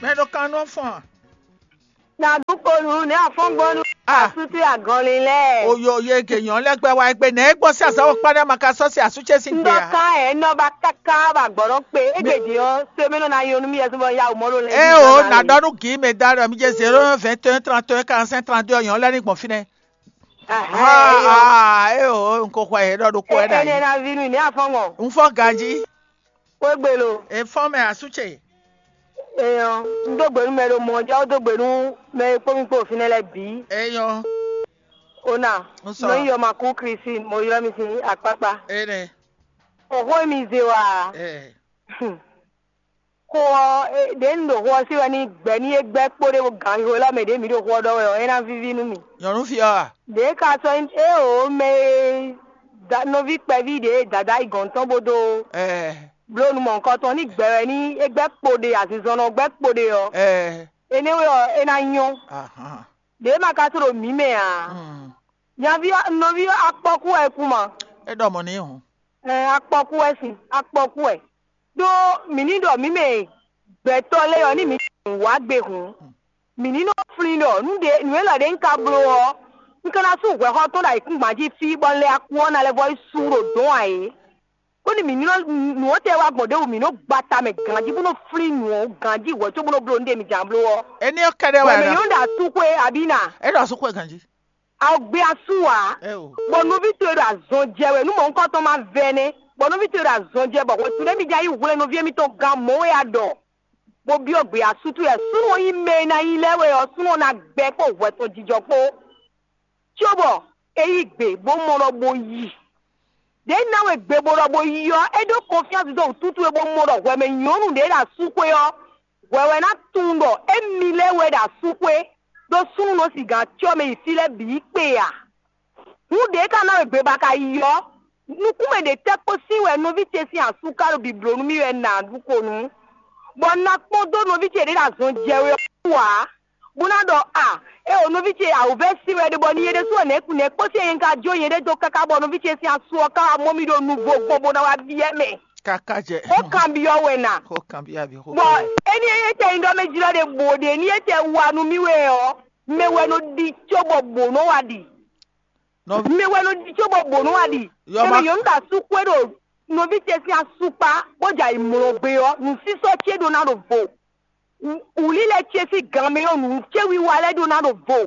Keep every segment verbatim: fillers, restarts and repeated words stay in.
Mɛ ɖo kan nɔ fɔn. Na dúkponu ní afɔngbɔnu Ah. Asútú agɔnlin lɛ. Oyo ye ke nyɔn lɛ gbɛ wa egbe nɛ egbɔ si azawo kpa ɖe ma ka sɔ si asu ce si gbe Ndɔ a. kan ɛ nɔ ba kaka ba gbɔdɔ kpe egbe di ɔ sɛmɛ nɔ na yɔ nu mi yɛ sɔbɔ ya o mɔ lo lɛ. E o na dɔ nu gi me da ɖɔ mi je zéro un vingt et un trente et un quarante cinq trente deux nyɔn lɛ ni gbɔn finɛ. Ah ah e o n ko xɔ ye ɖɔ ɖo kɔ ɛ da Ɛnɛ yi. na vi nu ní afɔngɔ. N fɔ ganji. Kó gbé lo. E fɔ mɛ asu ce. Eyɔ n dó gbenu mɛ ɖo mɔ ja ó dó gbenu mɛ e kpó mi kpó òfin lɛ bǐ. Eyɔ. Ona N sɔ. Nɔ yɔ ma kú Kristi mo ylɔ mi sin akpakpa. Ene. Òxó mi ze wa. Eh. Xó ɔ ɖě un ɖo xó ɔ sí wɛ ní gbɛ̌ ní é gbɛ́ kpó ɖé ganxixo lɛ́ɛ mɛ ɖě mǐ ɖo xó ɔ ɖɔ wɛ ɔ́, é ná víví nú mì. Nyɔnu fi ɔ a. Ɖě ka sɔ́ nyí é o mɛ e da- nɔví kpɛví ɖě e dada yi gɔ̌n tɔn bó dó Eh. bló nu mɔ̌hunkɔtɔn ní gbɛ wɛ ní é gbɛ́ kpo ɖe azinzɔnnɔ gbɛ́ kpo ɖe ɔ́, Eh. énɛ́ wɛ ɔ́ é ná nyɔ́. Ahan. Ɖě ma ka sɔ́ ɖo mǐ mɛ ǎ. Hmm. Nyaví ɔ́- nɔví ɔ́ akpɔ́kú wɛ kú ma. E ɖɔ mɔ n'i hɔn. Ɛn akpɔ́kú wɛ sin akpɔ́kú wɛ. Ɖó mǐ ní ɖɔ mǐ mɛ gbɛtɔ́ lɛ́ɛ ɔ́ ní mǐ wá gbe hǔn. Mǐ ní nɔ flín ɖɔ nǔ ɖé nǔ élɔ́ ɖé un ka bló ɔ́, un ka ná sú hwɛxɔ tɔn ɖo ayǐkúngban jí fí bɔ un lɛ akú ɔ́ ná lɛ́ vɔ yi sú ɖo dɔ̌n ǎ é. Kóni mǐ ní nɔ nǔ ɔ́ tɛ wá gbɔn ɖěbǔ mǐ nɔ gba ta mɛ ganjí bó nɔ flín nǔ ɔ́ ganjí hwɛ̌ có bó nɔ bló nǔ ɖe mǐ jǎn bló ɔ́. Eni ɔ́ kɛɖɛ Bɔ wɛ mǐ ɖɔ. nyɔ́ ɖo asúxwé abǐ na. E ɖɔ asúxwé ganjí. Awɔ gbé asú ǎ. E o. Bɔ nɔví towe ɖo azɔn jɛ wɛ nú mɔ̌hunkɔtɔn ma vɛ nɛ́. Bɔ nɔví towe ɖo azɔn jɛ bɔ hwɛ̌tu nɛ́ mǐ jɛ yí hwlɛ́n nɔví émítɔn gán mɔ̌ wɛ a ɖɔ. Bó byɔ́ gbé asú towe wɛ súnnu ɔ́ nyí mɛ e ná nyí lɛ́ɛ wɛ ɔ́ súnnu ɔ́ ná gbɛ kpó hwɛ tɔn jijɔ kpó. Cóbɔ é yí gbe bó mɔ ɖɔ bó yi. Ɖě ná we gbe bó ɖɔ bó yi ɔ́, é ɖó kɔnfyánsi dó wǔtútú e bó mɔ ɖɔ hwɛ mɛ nyɔ̌nu ɖě ɖo asúxwé ɔ́, hwɛ wɛ ná tunwun ɖɔ émi lɛ́ɛ wɛ ɖo asúxwé, ɖó súnnu nɔ sigǎn cyɔ mɛ yi fí lɛ́ɛ bǐ yi kpe ǎ. Hǔn ɖě ka ná we gbe ba ka yi ɔ́, nukúnmɛ ɖě tɛ́ kpó sín wɛ nɔví ce sín asú ka ɖo bǐbló nú mì wɛ nǎ ɖu ko nú, bɔ un ná kpɔ́n dó nɔví ce ɖě ɖo azɔn jɛ wɛ ɔ́ wú ǎ, bó ná ɖɔ a é o nɔví ce awǔvɛ́ sín wɛ ɖe bɔ ni yě ɖésú ɔ́ nɛ̌ nɛ̌ kpó sín yě ka jó yěɖée dó káká bɔ nɔví ce sín asú ɔ́ ka wá mɔ mì ɖo nuvo gbɔn bó ná wá byɔ́ mɛ. Kaka jɛ. Xó kanbyɔ́ wɛ nǎ. Xó kanbyɔ́ abi xó. Bɔ éní e tɛ nyí ɖɔ mɛ jlɔ́ ɖe bǒ ɖe ní e tɛ wa nú mì wɛ ɔ́, mɛ wɛ nɔ ɖi có bɔ bǒ nɔ wa ɖi. Nɔvi. Mɛ wɛ nɔ ɖi có bɔ bǒ nɔ wa ɖi. Yɔ Mɛ ma. Nyɔ̌nu ɖo asú xwé ɖo nɔví ce sín asú kpá bó jɛ ayǐ mlɔ́ gbé ɔ́, nǔsísɔ́ ce ɖó ná ɖo vo. Wǔlílɛ ce sín gan mɛ ɔ́, nǔ ce wiwa lɛ́ɛ ɖó ná ɖo vo.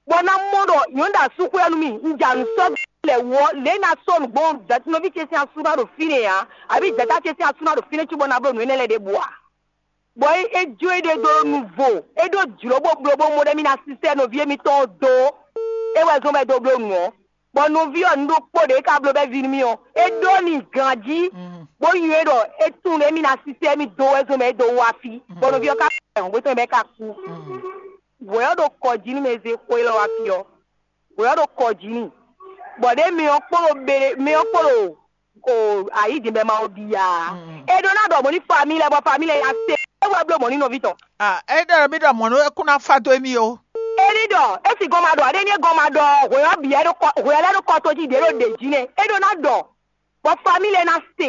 Bɔ ná mɔ ɖɔ nyɔ̌nu ɖo asú xwé ɔ́ nú mì, un jɛ nǔ sɔ́ lɛ wú ɔ́, lě ná sɔ́ nǔgbó nɔví ce sín asú ná ɖo fínɛ́ ǎ, abǐ jǎta ce sín asú ná ɖo fínɛ́ cóbɔ ná bló nǔ énɛ́ lɛ́ɛ ɖěbǔ ǎ. Bɔ é jó éɖée dó nuvo, é ɖó jlǒ bó bló bó mɔ ɖɔ émí ná sísɛ́ nɔví émítɔn ɔ́ dó. É wɛ zɔ́n bɔ é dó bló nǔ ɔ́, bɔ nɔví ɔ́ nǔ ɖokpó ɖě é ka bló bɔ é ví nú mì ɔ́, é ɖó n'i ganjí, bó nywɛ́ ɖɔ é tunwun ɖɔ émí ná sísɛ́ émí dó wɛ zɔ́n bɔ é dó wá fí, bɔ nɔví ɔ́ ka hɔn gbé tɔn bɔ é ka kú. Hwɛ ɔ́ ɖo kɔ jí nú mɛ e zé xó élɔ́ wá fí ɔ́, hwɛ ɔ́ ɖo kɔ jí n'i, bɔ ɖěe mɛ ɔ́ kpó ɖo bele mɛ ɔ́ kpó ɖo o ayǐ din bɔ ma wɔ bia. É ɖó ná ɖɔ mɔ̌ ní famille lɛ́ɛ bɔ famille lɛ́ɛ ya se é wɛ bló mɔ̌ ní nɔví tɔn. Ah, e ɖɔ mi ɖɔ mɔ̌ nú é kún ná fa dó émí o. É ní ɖɔ é sì gɔn ma ɖɔ aɖé ní é gɔn ma ɖɔ hwɛ ɔ́ bǐ ɛ ɖó kɔ hwɛ lɛ́ɛ ɖó kɔ tó jí ɖě ɖo ɖě jí nɛ́ é ɖó ná ɖɔ bɔ famille lɛ́ɛ ná se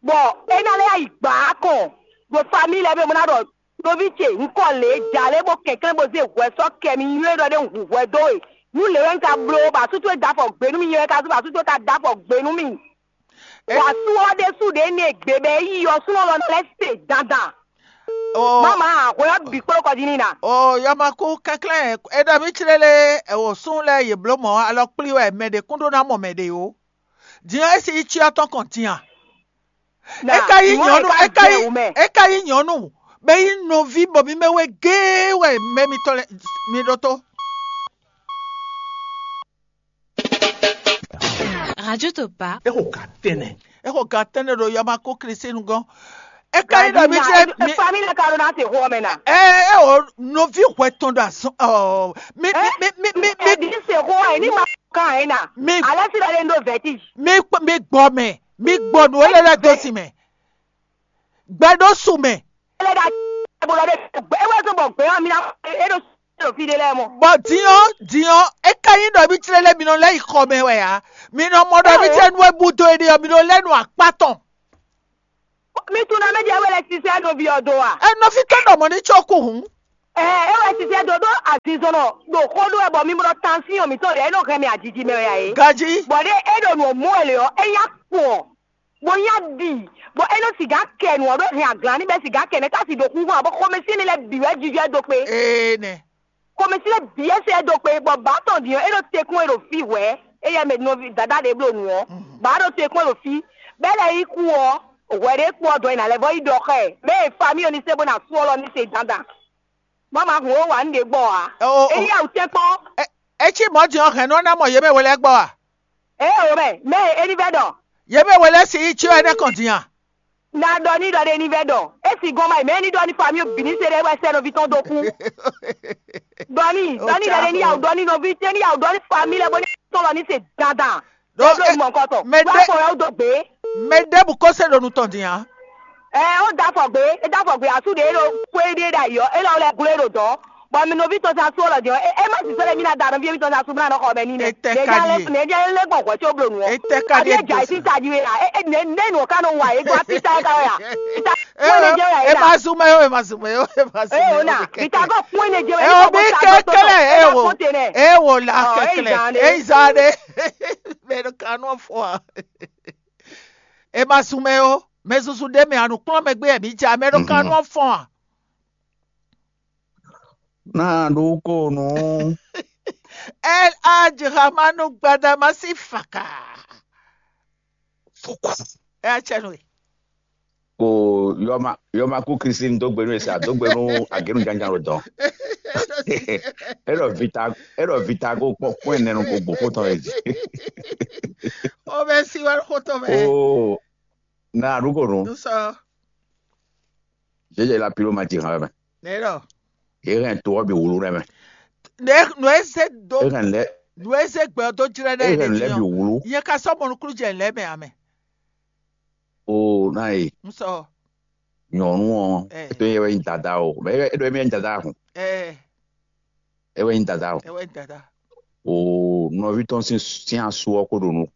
bɔ é ná lɛ́ yi gbǎ kɔn ɖo famille lɛ́ɛ bɛ mo ná ɖɔ nɔví ce un kɔ lě jalě bó kɛnklɛ́n bó zé hwɛ sɔ́ kɛ mi nywɛ́ ɖɔ ɖé un hu hwɛ dó we nú lě wɛ un ka bló bɔ asútú e da afɔ gbě nú mi nyɛ wɛ ka zú bɔ asútú e ka da afɔ gbě nú mi. Wǎ sú ɔ́ ɖésú ɖě nɛ gbe bɔ é yi ɔ́ súnɔ lɔ lɛ́ se dandan. Oh, Mama hwɛ ɔ́ bǐ kplɔ́ kɔ jí n'i na. Oh, yɔmaku kɛnklɛn e ɖɔ mì clé lé, ɛwɔ sún lɛ yě bló mɔ̌ alɔ kplí wɛ mɛ ɖě kún ɖó ná mɔ mɛ ɖě ó. Din ɔ́, é sí yi cyɔ tɔn kɔn din a? É ka yí nyɔ̌nu, é ka yí, é ka yí nyɔ̌nu, bɛ yí nɔví bɔ mi mɛ wɛ géé wɛ mɛ mitɔn lɛ mi ɖótó. Radio Topa. Exo ka tɛnɛ. Exo ka tɛnɛ ɖo yɔmaku Kristi nugɔn. É ka yí ɖɔ mi jɛ mi. Famille ka ɖo ná se xó mɛ na. Ɛ ɛ o nɔví hwɛ tɔn ɖo azɔn ɔ mi mi mi mi mi mi. Ɛdi se xó ɛ ní ma kan ɛ na. Mi alẹ́ sí lọ́lẹ́ ń do vertige. Mi kpɔ mi gbɔ mɛ mi gbɔ nu ele lɛ do si mɛ. Gbɛ ɖo su mɛ. Ele da bolo de ewé tó bọ̀ gbé wọn mi na e ɖo sọ̀rọ̀ fi de lɛ mɔ. Bɔ diɔ diɔ eka yi ɖɔ mi tlɛ lɛ mi nɔ lɛ yi xɔ mɛ wɛ ya mi nɔ mɔ ɖɔ mi tlɛ nu ebu do ene ɔ mi nɔ lɛ nu akpa tɔn. Mi tunwun ɖɔ mɛ ɖě wɛ lɛ́ sisɛ nɔví ɔ́ dó a? Ɛ nɔví tɔn ɖɔ mɔ̌ ní có kú hǔn. Ɛ é wɛ sisɛ dó ɖó azinzɔnnɔ ɖo xó ɖó wɛ bɔ mi mɔ ɖɔ tansyɔn mǐtɔn ɖě é nɔ hɛn mì ajiji mɛ wɛ ǎ é. Ganjí. Bɔ ɖé é ɖo nǔ ɔ́ mɔ wɛ lě ɔ́, é nyá kpɔn, bó nyá ɖi, bɔ é nɔ sixá kɛ nǔ ɔ́ ɖó hɛn aglan ní bɛ́ sixá kɛ nɛ́ tá si ɖo xúxú ǎ, bɔ xomɛsin ní lɛ́ bǐ wɛ jijɔ ɛ dó kpé. Ee nɛ. Xomɛsin lɛ́ bǐ ɛ sɛ ɛ dó kpé, bɔ bǎ tɔn din ɔ́, é ɖo tekún e ɖo fí hwɛ̌, éyɛ́ mɛ nɔví dada ɖě bló nǔ ɔ́, bǎ ɖo tekún e ɖo fí, bɛ́ lɛ́ yí kú ɔ́, hwɛ ɖě kpó ɔ́ dɔn e nǎ lɛ́ vɔ́ yi ɖɔ xá ɛ, bɛ́ e famille ɔ́ ní se bó ná sú ɔ́ lɔ ní se dandan. Má ma hun ó wa nǔ ɖě gbɔ ǎ. Ó, ó. Éyí awu tɛ́nkpɔ́n. É, é cí mɔ̌ din ɔ́, hɛ̌n nɔ ná mɔ yě mɛ we lɛ́ɛ gbɔ a? Ée o mɛ, mɛ e é ní vɛ́ ɖɔ. Yě mɛ we lɛ́ɛ si yí cyɔ énɛ́ kɔn din a? Na ɖɔ ní ɖɔ ɖé ní vɛ́ ɖɔ. É si gɔn ma yi mɛ ní ɖɔ ní famille bǐ ní se ɖé wɛ sɛ nɔví tɔn dó kú. Ɖɔ ní, ɖɔ ní ɖɔ ɖé ní yawu ɖɔ ní nɔví tɛ́ ní yawu ɖɔ ní famille lɛ́ɛ bó ní tɔn lɔ ní se dandan. Ɖó é bló mɔ nukɔn tɔn. Mɛ wá ɖé fɔ yɛ wú dó gbé. Mɛ ɖěbǔ ko se ɖo nu tɔn din a? Ɛ ó da afɔ gbé, é da afɔ gbé asú ɖě é ɖo xwé ɖé ɖo ayǐ ɔ́, é lɔ lɛ́ gló é ɖo dɔ̌. Bɔ mi nɔví tɔn sín asú ɔ́ lɔ din ɔ́, é é má sisɔ lɛ́ mí ná da nɔví émítɔn sín asú bó ná nɔ xɔ mɛ ní mɛ. Etɛ ka ɖíe. Nɛ̌ jẹ́ lé gbɔn hwɛ̌ có bló nu ɔ́? Etɛ ka ɖíe. Aɖíe jà sí tají wé a? É é nɛ̌ nɛ̌ nǔ ɔ́ ká nɔ wa é gbɔ fí ta é ka wɛ a? Fí ta kún é nɛ jẹ́ wɛ é É na. Ma zú mɛ ó, é ma zú mɛ ó, é ma zú É mɛ ó ó. Ná. Fí ta kɔ kún é nɛ jẹ́ wɛ. É ó bí kɛ́kɛ́lɛ é wò. É wò la kɛ́kɛ́lɛ. É zan ɖé. Mɛ ɖo kanú fɔ a? É ma zú mɛ ó. Mɛ zuzu ɖé mɛ a nǔ kplɔ́n mɛ gbé mǐ ja mɛ ɖo kanú fɔ a? Ná ɖó kó nú. El Hadj Ramanu Gbadamasi Faka. Ɛ acɛ nú we. Ko yɔma yɔma kú Christine dó gbe nú esa dó gbe nú agénu jánján ló dɔn. Eɖɔ vita eɖɔ vita kó kpɔ kpɔn ɛnɛ nu kó gbó kó tɔn yé jí. O bɛ si wɛ kó tɔn mɛ. O na ɖu kó nu. Nusɔ. Jẹjẹ la pilo ma ti hàn mɛ. Nɛ ɖɔ. Yé hɛn to ɔ́ bi wulu rɛ mɛ. Nɛ nɔ e se do. Yé hɛn lɛ. Nɔ e se gbɛ ɔ́ dó jrɛ nɛ Yé hɛn lɛ bi wulu. Yɛ ka sɔ mɔnukúlu jɛ lɛ mɛ amɛ. O na ye. N sɔ. Nyɔnu ɔ. Ɛ. Eto yɛ wɛ nyi dada o. Mɛ e ɖɔ emi yɛ nyi dada ahun. Ɛ. E wɛ nyi dada o. Ɛ wɛ nyi dada. O nɔvi tɔn sin sin asu ɔ ko ɖo nu